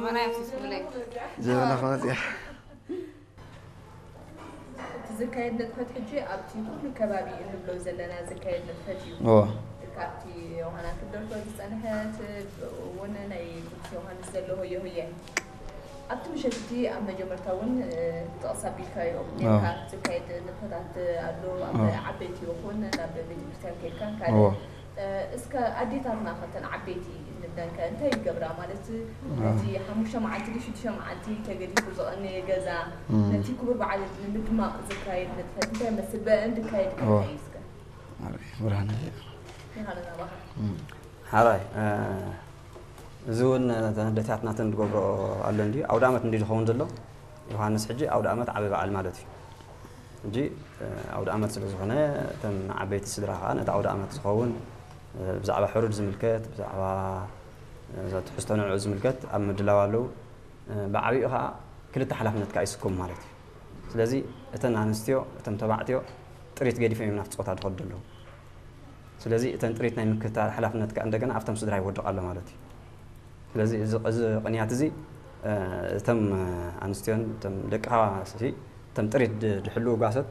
ኣና ያፍስስ ብለይ። ጀበና ክመፅያ እቲ ዝካየድ ንጥፈት ሕጂ ኣብቲ ኩሉ ከባቢ እንብሎ ዘለና ዝካየድ ንጥፈት እዩ። ኦ ካብቲ ዮሃና ክትደርፎ ዝፀንሐት እውን ናይ ቅዱስ ዮሃንስ ዘሎ ሆየ ሆየ ኣብቲ ምሸት እቲ ኣብ መጀመርታ እውን ጥቕስ ኣቢልካዮ ነካ ዝካየድ ንጥፈታት ኣሎ ኣብ ዓበይቲ ይኹን ናብ ቤተክርስትያን ከድካ ካልእ እስከ ኣዴታትና ከተን ዓበይቲ ንብለንከ እንታይ ይገብራ ማለት ነቲ ሓሙሽተ መዓልቲ ድ ሽዱሽተ መዓልቲ ተገዲፉ ዝቐነየ ገዛ ነቲ ክቡር በዓል ንምድማቕ ዝካየድ ንጥፈት እንታይ መስል በእን ድካየድ ከታይ እስከ ብርሃን ይኻለና ባኻ ሓራይ እዚ እውን ኣዴታትና ተን ዝገብሮ ኣሎ እንዲ ኣውደ ዓመት እንዲ ዝኸውን ዘሎ ዮሃንስ ሕጂ ኣውደ ዓመት ዓበ በዓል ማለት እዩ ሕጂ ኣውደ ዓመት ስለ ዝኾነ እተን ዓበይቲ ስድራ ከዓ ነቲ ኣውደ ዓመት ዝኸውን ብዛዕባ ሕሩድ ዝምልከት ብዛዕባ ትሕዝቶ ንዕኡ ዝምልከት ኣብ ምድላው ኣለዉ ብዓብኡ ከዓ ክልተ ሓላፍነት ከዓ ይስከሙ ማለት እዩ ስለዚ እተን ኣንስትዮ እቶም ተባዕትዮ ጥሪት ገዲፎም እዮም ናብቲ ፆታ ዝኸዱ ዘለዉ ስለዚ እተን ጥሪት ናይ ምክትታል ሓላፍነት ከዓ እንደገና ኣብቶም ስድራ ይወድቕ ኣሎ ማለት እዩ ስለዚ እዚ ቅንያት እዚ እቶም ኣንስትዮን እቶም ደቅኻ እቶም ጥሪት ድሕልው ጓሶት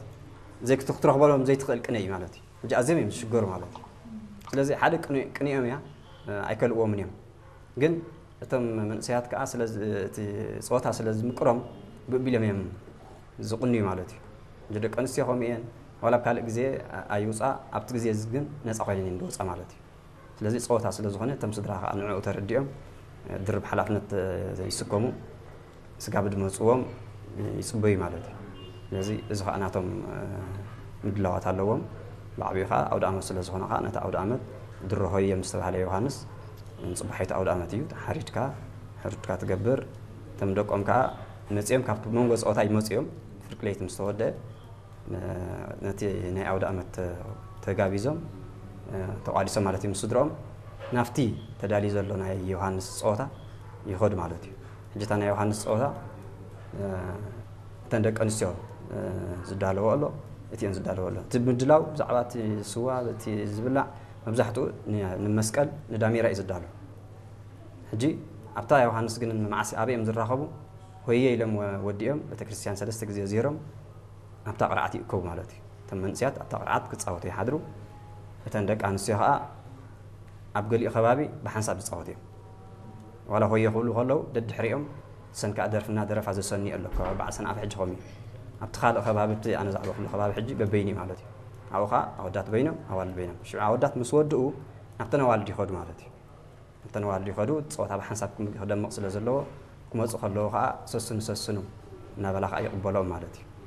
ዘይክትረኽበሎም ዘይትኽእል ቅነ እዩ ማለት እዩ ሕጂ ኣዝዮም እዮም ዝሽገሩ ማለት እዩ ስለዚ ሓደ ቅንኦም እያ ኣይከልእዎምን እዮም ግን እቶም መንእሰያት ከዓ እቲ ፀወታ ስለ ዝምቅሮም ብቢሎም እዮም ዝቕንዩ ማለት እዩ እንጂ ደቂ ኣንስትዮ ከምኡ እየን ዋላ ኣብ ካልእ ግዜ ኣይውፃ ኣብቲ ግዜ እዚ ግን ነፃ ኮይነን እየን ዝወፃ ማለት እዩ ስለዚ ፀወታ ስለ ዝኾነ እቶም ስድራ ከዓ ንዕኡ ተረዲኦም ድርብ ሓላፍነት ይስከሙ ስጋብ ድመፅዎም ይፅበዩ ማለት እዩ ስለዚ እዚ ከዓ ናቶም ምድላዋት ኣለዎም ብዓብኡ ከዓ ኣውደ ዓመት ስለ ዝኾነ ከዓ ነቲ ኣውደ ዓመት ድሮ ሆየ ምስ ተባሃለ ዮሃንስ ንፅባሒቱ ኣውደ ዓመት እዩ ሓሪድካ ሕሩድካ ትገብር እቶም ደቆም ከዓ መፅኦም ካብቲ መንጎ ፀወታ ይመፅኦም ፍርቂ ለይቲ ምስ ተወደአ ነቲ ናይ ኣውደ ዓመት ተጋቢዞም ተቋዲሶም ማለት እዩ ምስ ስድረኦም ናብቲ ተዳልዩ ዘሎ ናይ ዮሃንስ ፀወታ ይኸዱ ማለት እዩ ሕጂ እታ ናይ ዮሃንስ ፀወታ እተን ደቂ ኣንስትዮ ዝዳለዎ ኣሎ እቲኦን ዝዳለዎ ኣሎ እቲ ምድላው ብዛዕባ እቲ ስዋ እቲ ዝብላዕ መብዛሕትኡ ንመስቀል ንዳሜራ እዩ ዝዳሎ ሕጂ ኣብታ ዮሃንስ ግን መዓስ ኣበይ እዮም ዝራኸቡ ሆየ ኢሎም ወዲኦም ቤተክርስትያን ሰለስተ ግዜ ዚሮም ኣብታ ቅርዓት ይእከቡ ማለት እዩ እቶም መንእስያት ኣብታ ቅርዓት ክፃወቱ ይሓድሩ እተን ደቂ ኣንስትዮ ከዓ ኣብ ገሊኡ ከባቢ ብሓንሳብ ዝፃወቱ እዮም ዋላ ሆየ ክብሉ ከለዉ ደድሕሪኦም ሰን ከዓ ደርፊ እናደረፋ ዘሰንዩ ኣሎ ከባቢ በዓል ሰንዓፈ ሕጂ ከምኡ ኣብቲ ካልእ ከባቢ ኣብቲ ኣነ ዛዕባ ኩሉ ከባቢ ሕጂ በበይኒ ማለት እዩ ኣብኡ ከዓ ኣወዳት በይኖም ኣዋልድ በይኖም ሽዑ ኣወዳት ምስ ወድኡ ናብተን ኣዋልድ ይኸዱ ማለት እዩ እተን ዋልድ ይኸዱ ፀወታ ብሓንሳብ ክደምቕ ስለ ዘለዎ ክመፁ ከለዉ ከዓ ሰስኑ ሰስኑ እናበላ ከዓ ይቕበሎም ማለት እዩ